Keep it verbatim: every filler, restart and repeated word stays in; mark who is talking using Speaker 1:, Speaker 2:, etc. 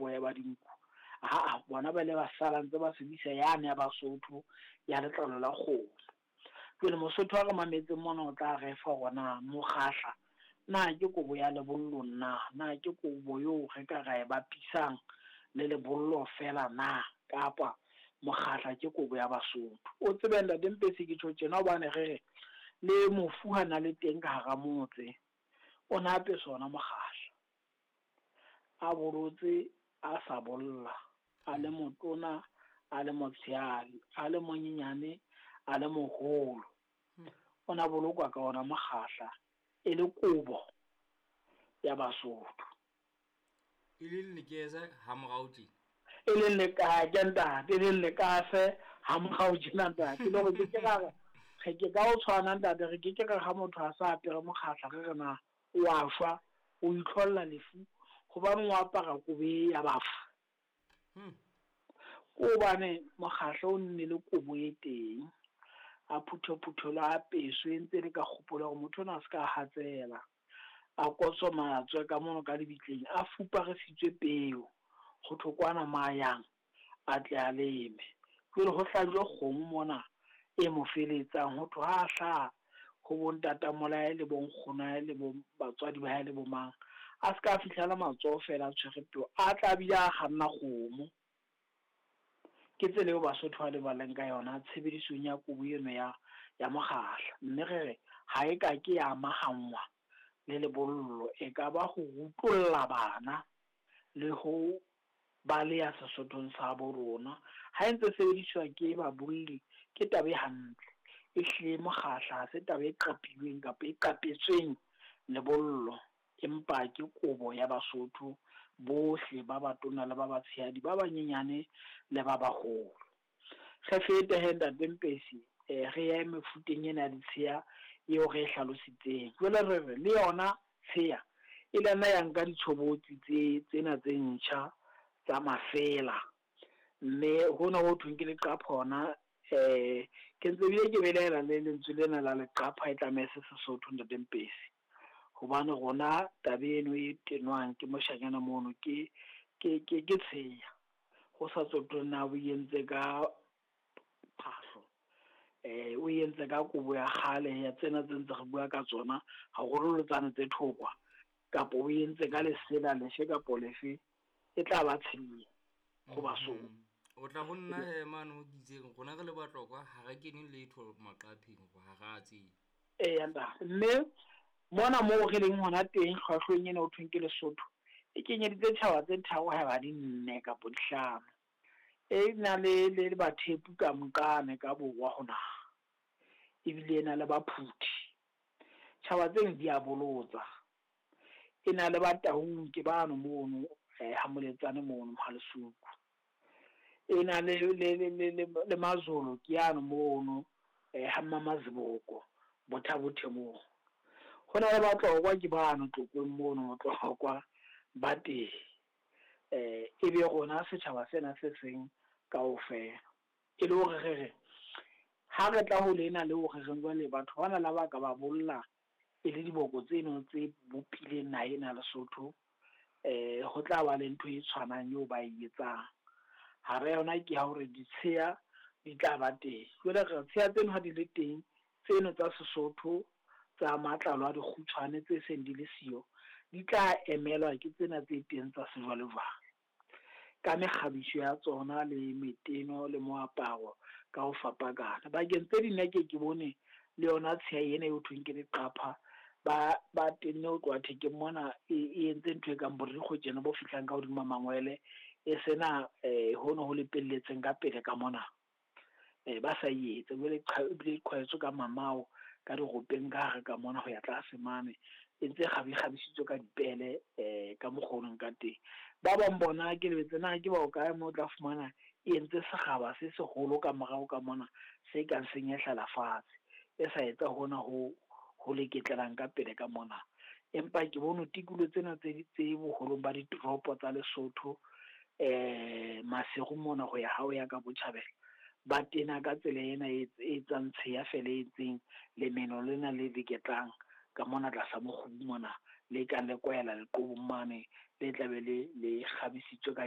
Speaker 1: boya ba dinku. Aa, bona ba ile ba sala ntse ba sebedisa yane ya Basotho ya letlalo la kgomo. Jwale Mosotho wa re mametseng mona o tla re fa hore na mokgahla na ke kobo ya lebollo na, na ke kobo eo re ka ra e bapisang le lebollo fela na, kapa mokgahla ke kobo ya Basotho. O tsebe ntate Mpesi ke tjho tjena hobane re re le mofu ha na le teng ka hara motse, o na apeswa ona mokgahla. A bolotse, a sa bolla, a le motona, a le motshehadi, a le monyenyane, a le moholo. O na bolokwa ka ona mokgahla e le kobo ya Basotho.
Speaker 2: E leng lekese ha morao tje?
Speaker 1: E leng lekake ntate, e leng lekase ha morao tjena ntate. Le hore ke ke ra re, re ke ka o tshwana ntate, re ke ke re ha motho a sa apere mokgahla re re na o a shwa, o itlholla lefu hobane o apara kobo e ya bafu.
Speaker 2: Hmm.
Speaker 1: Ke hobane mokgahla o nne le kobo e teng, a phuthophuthelo a apeswe ntse le ka kgopolo ya hore motho ona a se ka hatsela, a kotsomatswe ka mono ka lebitleng, a fuparisitswe peo ho thwe kwana mayang a tle a leme. Jwale ho hlajwe kgomo mona e mo feletsang, ho thwe ha hlaha ho bo ntatamolae le bo nkgonae le bo batswadi ba hae le bo mang, a se ka fihlela matsoho fela a tshwere peo, a tla bile a kganna kgomo. Ke tsela eo Basotho ba lebaleng ka yona tshebedisong ya kobo eno ya, ya mokgahla. Mme re re ha e ka ke ya amahanngwa le lebollo, e ka ba ho rutolla bana le ho baleha Sesothong sa bo rona. Ha e ntse sebediswa ke babolli ke taba e hantle. Ehlile mokgahla ha se taba e qapilweng kapa e qapetsweng lebollo, empa ke kobo ya Basotho bohle ba batona le ba batshehadi, ba banyenyane le ba baholo. Re fete he ntate Mpesi, eh, re ye mefuteng ena ya ditsheya eo re e hlalositseng. Jwale re re le yona tsheya e le nna ya nka ditshobotsi tse tsena tse ntjha tsa mafela, mme hona ho thweng ke leqapha hona, eh, ke ntse bile ke belaela le lentswe lena la leqapha e tlameha se Sesotho ntate Mpesi, hobane rona taba eno e tenwang ke moshanyana mono ke, ke, ke, ke tsheya, ho sa tsotelle na o entse ka phahlo, eh, o entse ka kobo ya kgale ya tsena tse ntse re bua ka tsona, haholo tsane tse thokwa, kapa o entse ka lesela lefe kapo lefe, e tla ba tsheya ho Basotho.
Speaker 2: O tla ho nna he mane ho kitseng rona re le Batlokwa ha re kene letho maqapheng ha re a tsebe.
Speaker 1: Eya ntate, mme mona moo re leng hona teng hlwahlweng ena ho thweng ke Lesotho, e kenyeditse tjhaba tse tharo haeba di nne kapo di hlano. E na le, le, le Bathepu ka Mqane ka borwa ho naha, ebile e na le Baphuthi. Tjhaba tseno di a bolotsa. E na le Bataung ke bano mono, eh, ha Moletsane mono Mohalesuku. E na le, le, le, le, le, le Mazolo ke yano mono, eh, ha Mmamaziboko, Botha-Bothe moo. Ho na le Batlokwa ke bano Tlokweng mono, Batlokwa ba teng. Eh, ebe rona setjhaba sena se seng kaofela. E le hore re re, ha re tla ho lena le hore re jwale batho bana la ba ka ba bolla e le diboko tseno tse bopileng naha ena Lesotho, eh, ho tla ba le ntho e tshwanang eo ba e etsang. Hara yona ke ya hore ditsheya di tla ba teng. Jwale re tsheya tseno ha di le teng, tseno tsa Sesotho tsa matlalo a dikgutshwane tse seng di le siyo, di tla emelwa ke tsena tse teng tsa sejwalejwale ka mekgabiso ya tsona le meteno le moaparo ka ho fapakana. Bakeng tse ding nna ke ke bone le yona tsheya ena eo thweng ke leqapha, ba, ba tenne ho tloha thekeng mona, e, e entse ntho e kang borikgwe tjena bo fihlang ka hodima mangwele, e sena, eh, hono ho lepelletseng ka pele ka mona. Eh, ba sa e etse, jwale qha-, ebile e qhwaetswe ka mamao, ka diropeng ka hare ka mona ho ya tlase mane, e ntse kgabi-, kgabisitswe ka dipele, eh, ka mokgwa o leng ka teng. Ba bang bona ke lebetse na ke bao kae moo o tla fumana e entse sekgaba se seholo ka morao ka mona, se kang senyehlela fatshe, e sa etsa hona ho, ho leketlelang ka pele ka mona. Empa ke bone tikolo tsena tse, tse boholong ba ditoropo tsa Lesotho, eh, Maseru mona ho ya ha o ya ka botjhabela, ba tena ka tsela ena e, e etsang tsheya fela e etseng lemeno lena le leketlang ka mona tlasa mokgubu mona, le kang le kwahela leqobong mane, le tlabe le, le kgabisitswe ka